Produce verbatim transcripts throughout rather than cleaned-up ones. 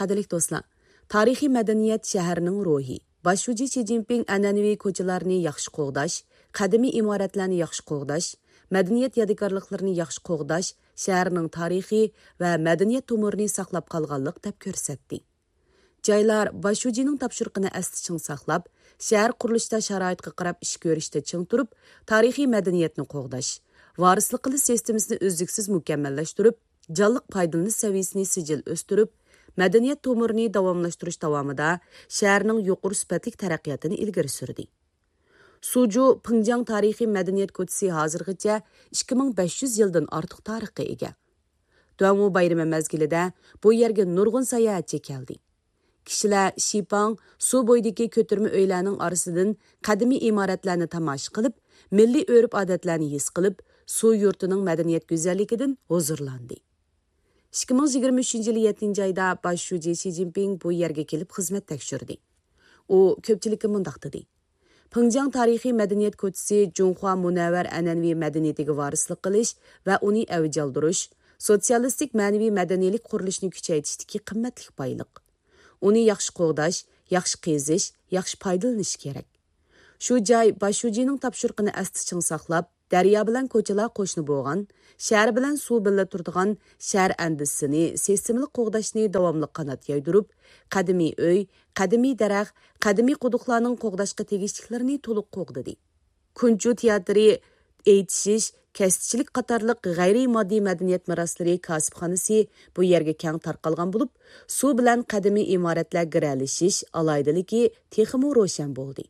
قەدىرلىك دوستلار، تارىخىي مەدەنىيەت شەھەرنىڭ روھى. باش شۇجى شى جىنپىڭ ئەنئەنىۋى كوچىلارنى ياخشى قوغداش، قەدىمىي ئىمارەتلەرنى ياخشى قوغداش، مەدەنىيەت يادىكارلىقلىرىنى ياخشى قوغداش شەھەرنىڭ تارىخى ۋە مەدەنىيەت تومۇرىنى ساقلاپ قالغانلىق دەپ كۆرسەتتى. جايلار باش شۇجىنىڭ تاپشۇرۇقىنى ئەستە چىڭ ساقلاپ، شەھەر قۇرۇلۇشتا شارائىتقا قاراپ ئىش كۆرۈشتە چىڭ تۇرۇپ، تارىخىي مەدەنىيەتنى قوغداش، ۋارىسلىق قىلىش سىستېمىسىنى ئۈزلۈكسىز مۇكەممەللەشتۈرۈپ، جانلىق پايدىلىنىش سەۋىيەسىنى سىجىل ئۆستۈرۈپ، مەدەنىيەت تومۇرىنى داۋاملاشتۇرۇش داۋامىدا شەھەرنىڭ يۇقىرى سۈپەتلىك تەرەققىياتىنى ئىلگىرى سۈردى. سۇجۇ پىڭجياڭ تارىخىي مەدەنىيەت كوچىسى ھازىرغىچە ئىككى مىڭ بەش يۈز يىلدىن ئارتۇق تارىخقا ئىگە. دۇەنۋۇ بايرىمى مەزگىلىدە بۇ يەرگە نۇرغۇن ساياھەتچى كەلدى. كىشىلەر شىپاڭ، سۇ بويىدىكى كۆتۈرمە ئۆيلەرنىڭ ئارىسىدىن قەدىمىي ئىمارەتلەرنى تاماشا قىلىپ، مىللىي ئۆرپ-ئادەتلەرنى ھېس قىلىپ، سۇ يۇرتىنىڭ مەدەنىيەت گۈزەللىكىدىن ھۇزۇرلاندى. ئىككى مىڭ يىگىرمە ئۈچىنچى يىلى يەتتىنچى ئايدا باش شۇجى شى جىنپىڭ بۇ يەرگە كېلىپ خىزمەت تەكشۈردى. ئۇ كۆپچىلىككە مۇنداق دېدى: پىڭجياڭ تارىخىي مەدەنىيەت كوچىسى جۇڭخۇا مۇنەۋۋەر ئەنئەنىۋى مەدەنىيىتىگە ۋارىسلىق قىلىش ۋە ئۇنى ئەۋج ئالدۇرۇش، سوتسىيالىستىك مەنىۋى مەدەنىيلىك قۇرۇلۇشنى كۈچەيتىشتىكى قىممەتلىك بايلىق. ئۇنى ياخشى قوغداش، ياخشى قېزىش، ياخشى پايدىلىنىش كېرەك. شۇ جاي باش شۇجىنىڭ تاپشۇرۇقىنى ئەستە چىڭ ساقلاپ، دەريا بىلەن كوچىلار قوشنا بولغان، شەھەر بىلەن سۇ بىللە تۇرىدىغان شەھەر ئەندىزىسىنى سىستېمىلىق قوغداشنى داۋاملىق قانات يايدۇرۇپ، قەدىمىي ئۆي، قەدىمىي دەرەخ، قەدىمىي قۇدۇقلارنىڭ قوغداشقا تېگىشلىكلىرىنى تولۇق قوغدىدى. كۇنچۇ تىياتىرى، ئېيتىشىش، كەستىچىلىك قاتارلىق غەيرىي ماددىي مەدەنىيەت مىراسلىرى كاسىپخانىسى بۇ يەرگە كەڭ تارقالغان بولۇپ، سۇ بىلەن قەدىمىي ئىمارەتلەر گىرەلىشىش ئالاھىدىلىكى تېخىمۇ روشەن بولدى.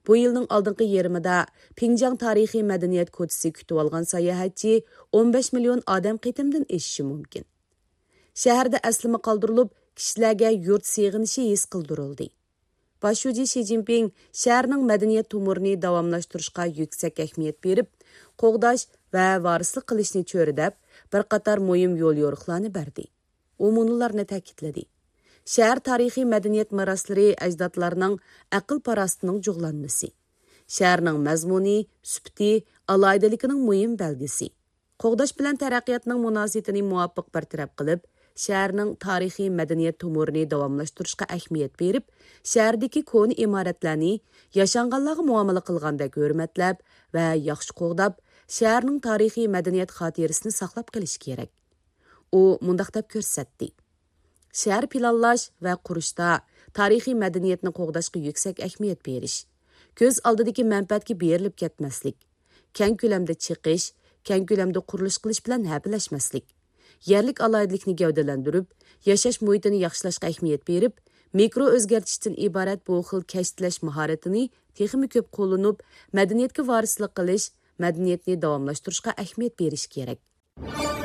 بۇ يىلنىڭ ئالدىنقى يېرىمىدا پىڭجياڭ تارىخىي مەدەنىيەت كوچىسى كۈتۈۋالغان ساياھەتچى ئون بەش مىليون ئادەم قېتىمدىن ئېشىشى مۇمكىن. شەھەردە ئەسلىمە قالدۇرۇلۇپ، كىشىلەرگە يۇرت سېغىنىشى ھېس قىلدۇرۇلدى. باش شۇجى شى جىنپىڭ شەھەرنىڭ مەدەنىيەت تومۇرىنى داۋاملاشتۇرۇشقا يۈكسەك ئەھمىيەت بېرىپ، قوغداش ۋە ۋارىسلىق قىلىشنى چۆرىدەپ، بىر قاتار مۇھىم يوليورۇقلارنى بەردى. ئۇ مۇنۇلارنى تەكىتلىدى: شەھەر تارىخىي مەدەنىيەت مىراسلىرى ئەجدادلارنىڭ ئەقىل-پاراسىتىنىڭ جۇغلانمىسى، شەھەرنىڭ مەزمۇنى، سۈپىتى، ئالاھىدىلىكىنىڭ مۇھىم بەلگىسى. قوغداش بىلەن تەرەققىياتنىڭ مۇناسىۋىتىنى مۇۋاپىق بىر تەرەپ قىلىپ، شەھەرنىڭ تارىخىي مەدەنىيەت تومۇرىنى داۋاملاشتۇرۇشقا ئەھمىيەت بېرىپ، شەھەردىكى كونا ئىمارەتلەرنى ياشانغانلارغا مۇئامىلە قىلغاندەك ھۆرمەتلەپ ۋە ياخشى قوغداپ، شەھەرنىڭ تارىخىي مەدەنىيەت خاتىرىسىنى ساقلاپ قېلىش كېرەك. ئۇ مۇنداق دەپ كۆرسەتتى: شەھەر پىلانلاش ۋە قۇرۇشتا تارىخىي مەدەنىيەتنى قوغداشقا يۈكسەك ئەھمىيەت بېرىش، كۆز ئالدىدىكى مەنپەئەتكە بېرىلىپ كەتمەسلىك، كەڭ كۆلەمدە چېقىش، كەڭ كۆلەمدە قۇرۇلۇش قىلىش بىلەن ھەپىلەشمەسلىك، يەرلىك ئالاھىدىلىكنى گەۋدىلەندۈرۈپ، ياشاش مۇھىتىنى ياخشىلاشقا ئەھمىيەت بېرىپ، مىكرو ئۆزگەرتىشتىن ئىبارەت بۇ خىل كەشتىلەش ماھارىتىنى تېخىمۇ كۆپ قوللىنىپ، مەدەنىيەتكە ۋارىسلىق قىلىش، مەدەنىيەتنى داۋاملاشتۇرۇشقا ئەھمىيەت بېرىش كېرەك.